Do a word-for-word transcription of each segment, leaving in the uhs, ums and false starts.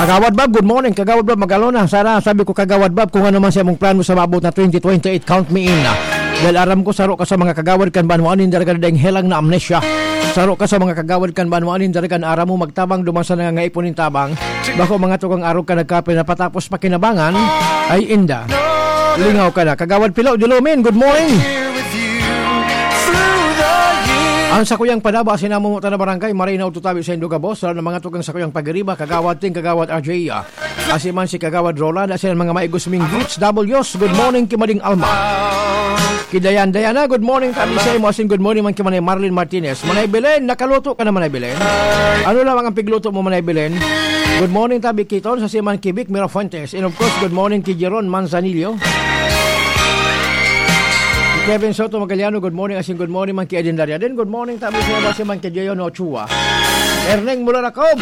Kagawad Bob, good morning. Kagawad Bob, magalo na. Sana, sabi ko, Kagawad Bob, kung ano man sa imong plano sa maabot na twenty twenty-eight, count me in. Dahil aram ko, saro ka sa mga kagawad kan banwaan nin daraga daing helang na amnesia. Saro ka sa mga kagawad kan banwaan nin daraga na aram mo magtabang duman sa nangangaipon nin tabang. Bako mga tugang arog ka nagkape na patapos pakinabangan, ay inda. Lingaw ka na. Kagawad Pilaw, Dilumin, good morning. Ang sakuyang panaba, sinamumutan na barangay, Marinaw, Tutabi, sa Indugabos, sa mga tugang sakuyang pagiriba, Kagawad Ting, Kagawad R J, ah, asiman si Kagawad Roland, asiman mga maigos ming beats, W S, good morning, Kimading Alma. Kidayan, Diana, good morning, tabi sa imo, asin good morning man ki Manay Marlene Martinez. Manay Belen, nakaluto ka na, Manay Belen? Ano lamang ang pigluto mo, Manay Belen? Good morning, tabi Kiton, sa siman ki Vic Mirafuentes. And of course, good morning ki Jeron Manzanillo. Ki Kevin Soto Magaliano, good morning, asin good morning man ki Eden Dariaden. Good morning, tabi sa imo, siman ki Jeon Ochoa. Erneng Mularacob.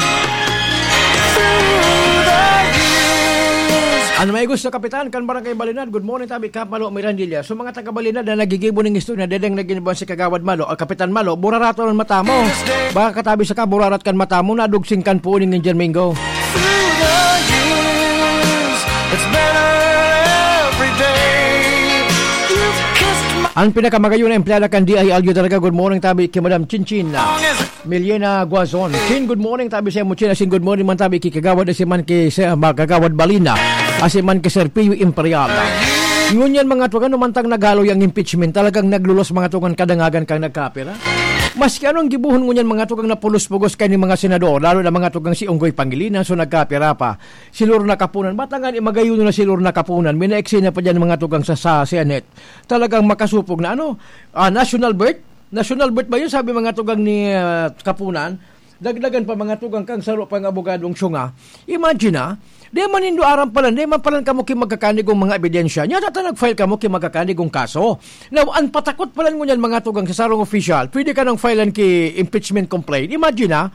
Ano may gusto, Kapitan? Kan Barangay Balinad, good morning, tabi Kap Malo Mirandilla. So, mga taga Balinad na nagigibo ning istorya, dedeng naginibuan si Kagawad Malo, o Kapitan Malo, buraraton an mata mo. Baka katabi sa ka, burarat kan mata mo, nadugsing kan puon nin Indian Mingo. Through the years, it's better every day. You've kissed my Ang pinakamagayon na empleyada kan D I L U talaga, good morning, tabi ki Madam Chinchin. Miliena Guazon. Chin, good morning, tabi sa imo, Chin. Asin good morning man, tabi ki Kagawad, asin man ki sa, ah, Kagawad Balina. Asin man ki Sir Pio Imperial. Ngunyan, mga tugang, ano man tang naghaloy ang impeachment, talagang naglulos, mga tugang, kadangagan kang nagkapira. Maski anong gibohon ngunyan, mga tugang, na pulos-pugos kani mga senador, lalo na mga tugang si Unggoy Pangilinan, so nagkapira pa. Si Lorna Kapunan, bata nga ni magayon na si Lorna Kapunan, may naeksena pa dyan, mga tugang, sa, sa Senate. Talagang makasupog na, ano, ah, national birth? National birth ba yun? Sabi mga tugang ni, ah, Kapunan, dagdagan pa mga tugang kang saro pang abogadong syunga. Imagine, ah, di man nindo aram palan, di man palan kamo ki magkakanigong mga ebidensya. Nya, tata nag-file kamo ki magkakanigong kaso. Now, an patakot palan ngunyan mga tugang sa sarong opisyal, pwede ka nang filean ki impeachment complaint. Imagine, ah,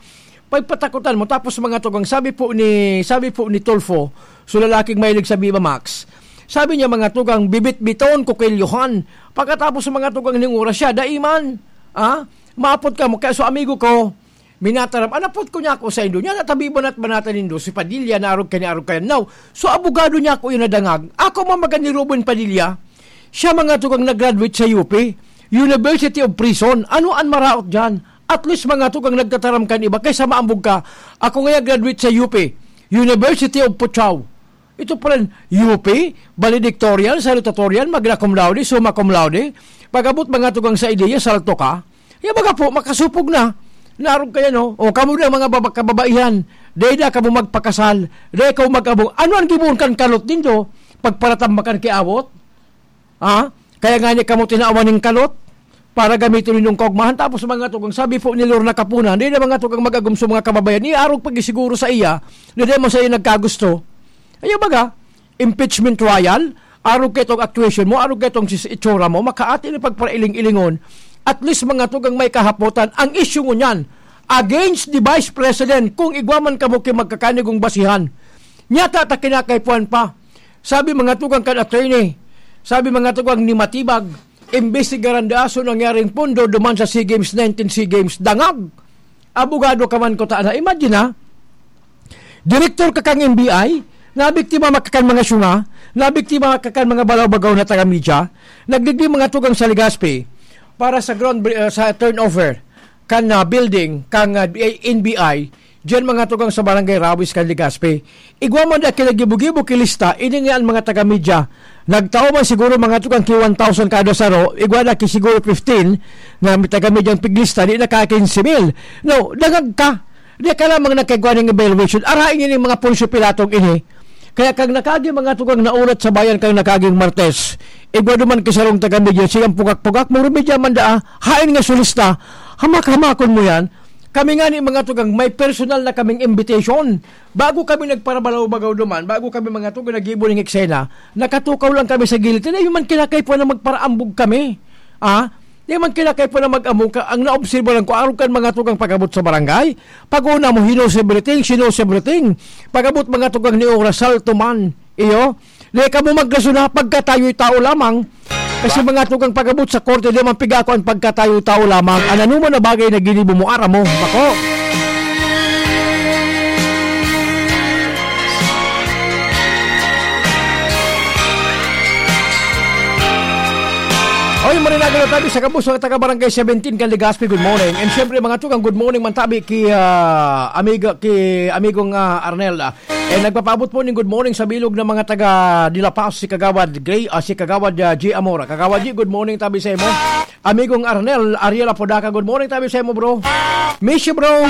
pagpatakotan mo, tapos mga tugang, sabi po ni, sabi po ni Tulfo, so lalaking mahilig sa Viva Max, sabi niya, mga tugang, bibit-biton, kukilyohan. Pagkatapos, mga tugang, ning oras siya, dai man. Ah? Maapot ka mo, kaya so amigo ko, minataram, anapot ko niya ako sa indo niya, natabi banat-banatan nindo, si Padilla, naarog ka, niarog ka. Now, so abogado niya ako yung nadangag. Ako, mamagan ni Ruben Padilla, siya, mga tugang, nag-graduate sa U P, University of Prison. Ano an maraot dyan? At least, mga tugang, nagtataram kan iba kaysa maambog ka. Ako ngaya graduate sa U P, University of Puchaw. Ito pa rin, U P, valedictorian, salutatorian, magna cum laude, summa cum laude. Pag-abot, mga tugang, sa ideya, salto ka. Yan baga po, makasupog na. Narog kaya, no? O, kamo na, mga baba-, kababaihan. Dahil na kamo magpakasal. Dahil kamo mag-abog. Ano ang gibohon kan kalot nindo? Pagparatambakan ki awot? Ha? Kaya nga niya kamo tinawan ning kalot para gamiton ninyong kaugmahan. Tapos, mga tugang, sabi po ni Lorna Kapunan, di na, mga tugang, mag-agom sa mga kababayan, iarog pag-isiguro sa iya, na di man sa iya nagkagusto. Ayaw baga, impeachment trial, arog ka itong actuation mo, arog ka itong sis-, itsura mo, makaati na pagparailing-ilingon. At least, mga tugang, may kahapotan. Ang issue ngunyan, against the Vice President, kung igwa man kamo ki magkakanigong basihan. Nyata ta kinakaipuhan pa. Sabi mga tugang kan attorney, sabi mga tugang ni Matibag, imbestigaran daa so nangyaring pondo duman sa SEA Games, nineteen SEA Games, dangag. Abogado ka man ko ta na. Imagine, ha? Direktor ka kang N B I, nabiktima ka kan mga syunga, nabiktima ka kan mga balaw-bagaw na taga-media, nagdigdi mga tugang sa Legazpi para sa ground, uh, sa turnover kan, uh, building kang, uh, N B I, diyan mga tugang sa Barangay Rawis kan Legazpi. Igwa man da kinagibo-gibo ki lista, ini nga ang mga taga-media. Nagtao man siguro mga tugang ki one thousand kada saro, igwa na ki siguro fifteen na may taga-media ang piglista, di na ka quince mil. No, dangag ka. Di ka lamang nagkaigwa ning evaluation. Arain niyo ning mga Poncio Pilatong ini. Kaya kang nakagi mga tugang naulat sa bayan kang nakaging Martes, igwa duman ki sarong taga-media, siyang pugak-pugak, murumidya man daa, hain nga solista, hamak-hamakon mo yan. Kami nga ni mga tugang, may personal na kaming invitation. Bago kami nagparabalaw-bagaw duman, bago kami mga tugang naggibo ning eksena, nakatukaw lang kami sa gilid. Tinay man kinakaipuhan na magparaambog kami. Ah? Di man kinakaipuhan na mag-ambog ka. Ang naobserba lang ko, arog kan mga tugang pag-abot sa barangay. Pag-una mo, he knows everything, she knows everything. Pag-abot mga tugang ni oras, salto man. Iyo? Di ka mo magkasuna, pagkatayo'y tao lamang. Kasi mga tugang pag-abot sa korte, di man piga ako ang pagkatayo'y tao lamang. An anoman na bagay na ginibo mo, aram mo. Bako. Oy, marinaga na tabi sa gabos, mga taga Barangay seventeen kan Legazpi, good morning. And syempre, mga tugang, good morning man tabi ki, ah, amiga, ki amigong, ah, Arnel. Ah. Eh, nagpapaabot po ning good morning sa bilog ng mga taga Dilapao, si Kagawad Gray, ah, si Kagawad, ah, G Amora. Kagawad G, good morning tabi sa imo. Amigong Arnel, Ariel Apodaca, good morning tabi sa imo, bro. Miss you, bro.